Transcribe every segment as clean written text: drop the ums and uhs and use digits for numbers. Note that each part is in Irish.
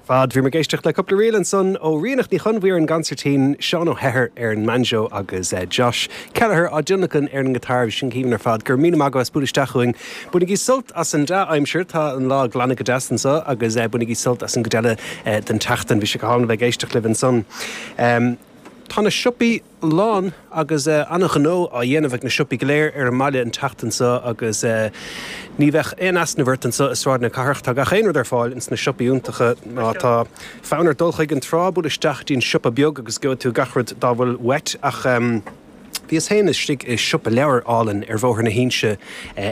Fad. Bhí muid ag éisteacht le cúpla ríl ansan ó Ríonach Ní Chonmhaoir ar an gconsairtín, Seán Ó hEithir ar an mbanjo agus Josh Kelleher á dtionlacan ar an ngiotár. Bhí sin go haoibhinn ar fad. Go raibh míle maith agaibh as bualadh isteach chugainn. Bainigí sult as an dea-aimsir, tá an lá ag glanadh go deas anso agus bainigí sult as an gcuid eile den tseachtain. Bhí sé go hálainn a bheith ag éisteacht libh ansan. Tá na siopaí lán agus an-ghnó á dhéanamh ag na siopaí go léir ar an mbaile an tseachtain seo agus ní bheadh aon easnamh ort anseo i Sráid na Cathrach. Tá gach aon rud ar fáil ins na siopaí iontacha. Má tá fonn ort dul chuig an trá, buail isteach dtí'n siopa beag agus gheobhaidh tú gach rud dá bhfuil uait. Ach bhíos féin istigh i siopa leabhar álainn ar Bhóthar na hInse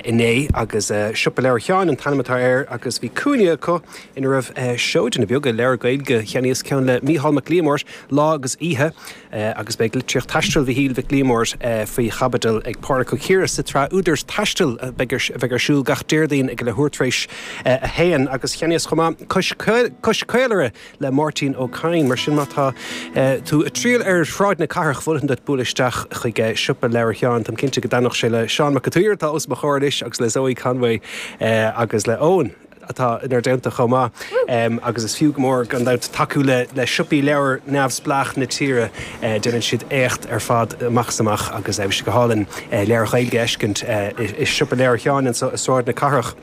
inné agus Siopa Leabhar Sheáin an t-ainm atá air agus bhí cúinne acu ina raibh seoideanna beaga, leabhar Gaeilge. Cheannaíos ceann le Mícheál Mac Liammóir, Lá agus Oíche, agus beidh litríocht taistil Mhichíl Mhic Liammóir faoi chaibidil ag Pádraig Ó Ciardha sa tsraith Údair Taistil a bheidh ar siúl gach Déardaoin ag a leathuair tar éis a haon. Agus cheannaíos chomh maith Cois Cois Caolaire le Máirtín Ó Cadhain. Mar sin má tá tú ag triall ar Shráid na Cathrach, mholfainn duit bualadh isteach chuig Siopa Leabhar Sheáin. Táim cinnte go dtaitneodh sé le Seán Mac an tSaoir atá os mo chomhair anois agus le Zoe Conway agus le Eoin. atá inár dteannta chomh maith agus is fiú go mór gan dabht tacú le le siopaí leabhar neamhspleách na tíre. Déanann siad éacht ar fad amach is amach agus bhí sé go hálainn leabhair Ghaeilge a fheiscint i Siopa Leabhar Sheáin anseo i Sráid na Cathrach.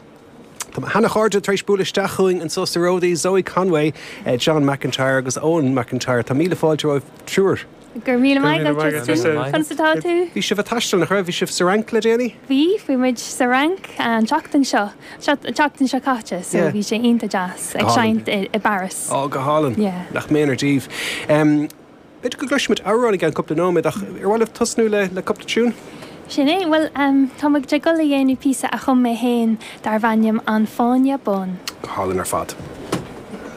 Tá mo sheana-chairde tar éis bualadh isteach chugainn anseo sa Ródaí, Zoe Conway, John McIntyre agus Eoin McIntyre. Tá míle fáilte romhaibh triúr. Go raibh míle maith agat, Tristan. Conas atá tú? Bhí sibh ag taisteal, nach raibh? Bhí sibh sa Fhrainc le déanaí? Bhí, bhí muid sa Fhrainc an tseachtain seo, an tseachtain seo caite, so bhí sé iontach deas ag seinnt i bParis. Ó, go hálainn. Yeah. Nach méanar daoibh. B'fhéidir go gcloisfimid amhrán i gceann cúpla nóiméad ach ar mhaith libh tosnú le le cúpla tiún? Sin é, bhuel, tá muid ag dul a dhéanamh píosa a chum mé féin darbh ainm An Fáinne Bán. Go hálainn ar fad.